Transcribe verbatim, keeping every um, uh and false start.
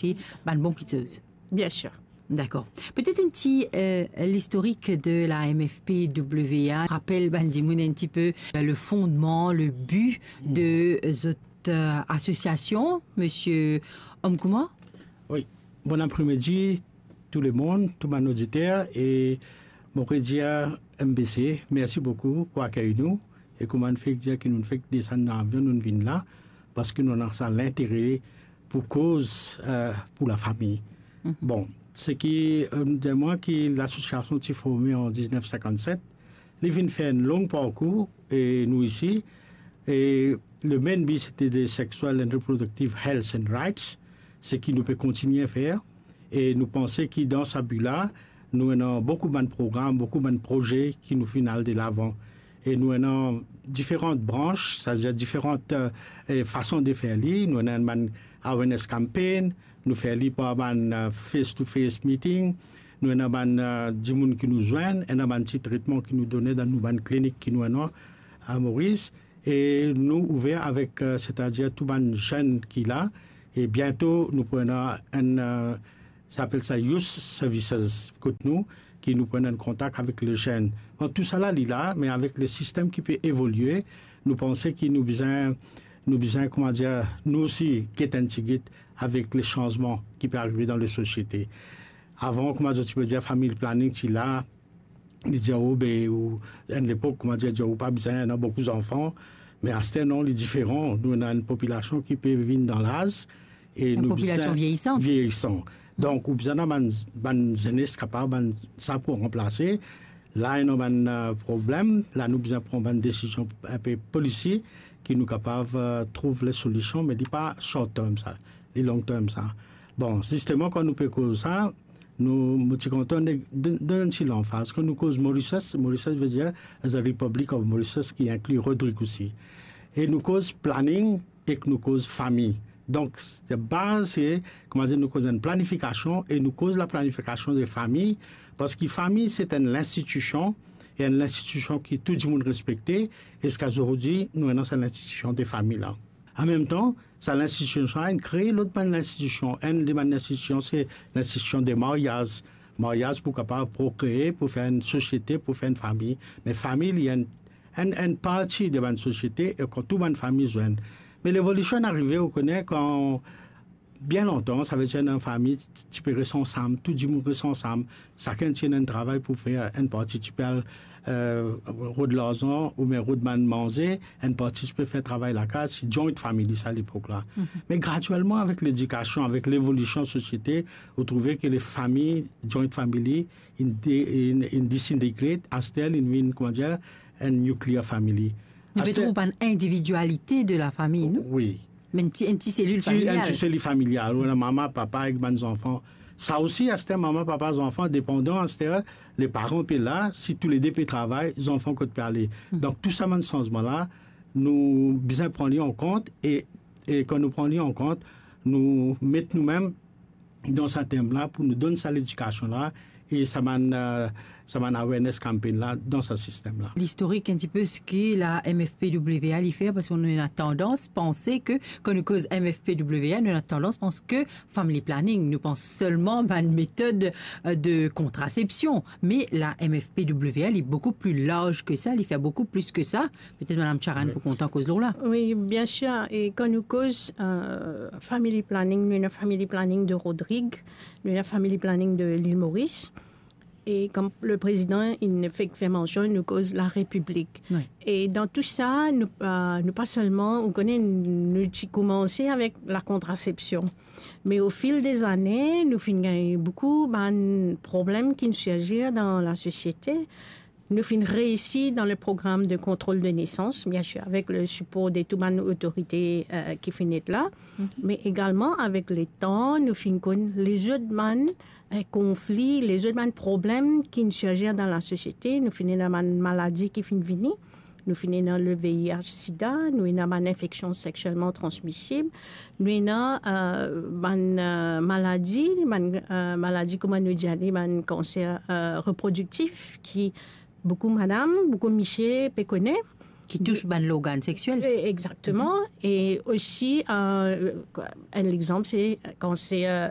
ti bann bon kiksoz. Bien sûr. Dakor. Petet enn ti, euh, listorik de la M F P W A. Rapel bann dimoun enn ti pe, euh, le fondman, le bi de, euh, zot, euh, asosiasion, Misie Omkouma. Wi. Bon apremidi tou lemonn, tou bann oditer, e mo pe dir M B C, mersi boukou pou akey nou. E kouma nou fek dir ki nou fek desann dan avion, nou vinn la, parski nou ena sa lintere pou koz, euh, pou lafami. Bon, seki, euh, dir mwa ki lasosiasion ti forme an diznef sinkannset, li vinn fer enn long parkour, e nou isi, e le main bi sete de sexual and reproductive health and rights, seki nou pe kontigne fer, e nou panse ki dan sa bi la, nou ena boukou bann program, boukou bann proze ki nou finn al delavan. E nou ena diferan brans, setadir diferan, euh, eh, fason de fer li. Nou ena bann awareness campaign, nou fer li par bann, euh, face to face meeting, nou ena bann, euh, dimoun ki nou zwenn, ena bann ti tretman ki nou done dan nou bann klinik ki nou ena a Moris. E nou ouver avek, euh, setadir tou bann zenn ki la, e biento nou pou ena enn, euh, sa apel sa youth services kot nou, ki nou pou ena enn kontak avek le zenn. Bon, tousala li la, me avek le sistem ki pe evolie, nou panse ki nou bizin, nou bizin, kouma dir, nou osi get enn tigit avek le sanzman ki pe arive dan le sosiete. Avan, kouma zot ti pe dir, family planning ti la, li dir, "Oh, be, ou, enn lepok, kouma dir, dir, ou pa bizin ena boukou zanfan." Me aster, non, li diferan. Nou ena enn popilasion ki pe vinn dan laz, e enn nou popilasion bizin vieyisan. Vieyisan. Donk, ou bizin ena bann, bann zenes kapav, bann sa pou ranplase. La, ena bann, euh, problem. La, nou bizin pran bann desizion, enpe polisi, ki nou kapav, euh, trouv le solision, me li pa short term sa, li long term sa. Bon, zisteman, kan nou pe koz sa, nou, mo ti kontan de, de, donn enn ti lanfaz. Kan nou koz Mauritius, Mauritius ve dir the Republic of Mauritius, ki inkli Rodrig osi. E nou koz planning ek nou koz fami. Donk, se baz, se, kouma dir, nou koz enn planifikasion e nou koz laplanifikasyon de fami, parski fami, se enn linstitisyon, e enn linstitisyon ki tou dimoun respekte, e ziska zordi, nou ena sa linstitisyon de fami la. An mem tan, sa linstitisyon sa, inn kree lot bann linstitisyon. Enn de bann linstitisyon, se linstitisyon de maryaz. Maryaz pou kapav prokree, pou fer enn sosiete, pou fer enn fami. Me fami, li enn, enn, enn parti de bann sosiete, e kan tou bann fami zwenn. Me levolisyon inn arive, ou kone, kan bien lontan, savedir enn fami ti, ti pe res ansam, tou dimoun res ansam, sakenn ti ena enn travay pou fer, enn parti ti pe al, eh, rod larzan oubien rod bann manze, enn parti ti pe fer travay lakaz, se joint family sa lepok la. Me graduelman, avek ledikasyon, avek levolisyon sosiete, ou trouve ke le fami, joint family, inn de-, inn, inn disintegrate, aster inn vinn, kouma dir, enn nuclear family. Li pe trouv bann individualite de la fami, non? Wi. Me enn ti, enn ti selil familial. Enn ti selil familial, ou ena mama, papa ek bann zanfan. Sa osi, aster mama, papa, zanfan, depandan, aster leparan pe la, si toulede pe travay, zanfan kot pe ale. Donk, tou sa bann sanzman la, nou bizin pran li an kont e, e kan nou pran li an kont, nou met noumem dan sa tem la pou nou donn sa ledikasyon la e sa bann, eh, sa bann awareness campaign la dan sa sistem la. Listorik enn ti pe seki la M F P W A li fer, parski nou ena tandans panse ke, kan nou koz M F P W A, nou ena tandans panse ke family planning, nou pans selman bann metod, eh, de kontrasepsyon. Me la M F P W A, li boukou pli larz ke sa, li fer boukou plis ke sa. Petet Madam Charan pou kontan koz lor la. Wi, bien sir. E kan nou koz, eh, family planning, nou ena family planning de Rodrig, nou ena family planning de Lil Moris. E kom le prezidan inn fek fer mansion, nou koz la Repiblik. Wi. E dan tou sa, nou, eh, nou pa selman, ou kone, nou ti koumanse avek la kontrasepsyon. Me o fil de zane, nou finn gagn boukou bann problem ki sirzir dan la sosiete. Nou finn reisi dan le program de kontrol de nesans, bien sir, avek le sipor de tou bann otorite, eh, ki finn et la, me egalman avek letan, nou finn konn lezot bann, eh, konfli, lezot bann problem ki sirzir dan la sosiete. Nou finn ena bann maladi ki finn vini. Nou finn ena le V I H sida, nou ena bann infeksyon seksielman transmisib, nou ena, eh, bann, eh, maladi, bann, eh, maladi, kouma nou dir li, bann kanser, eh, reprodiktif ki boukou madam, boukou misie pe kone. Ki tous bann lorgan sexiel. E, exactement. E osi, euh, un exemple, c'est quand c'est, euh,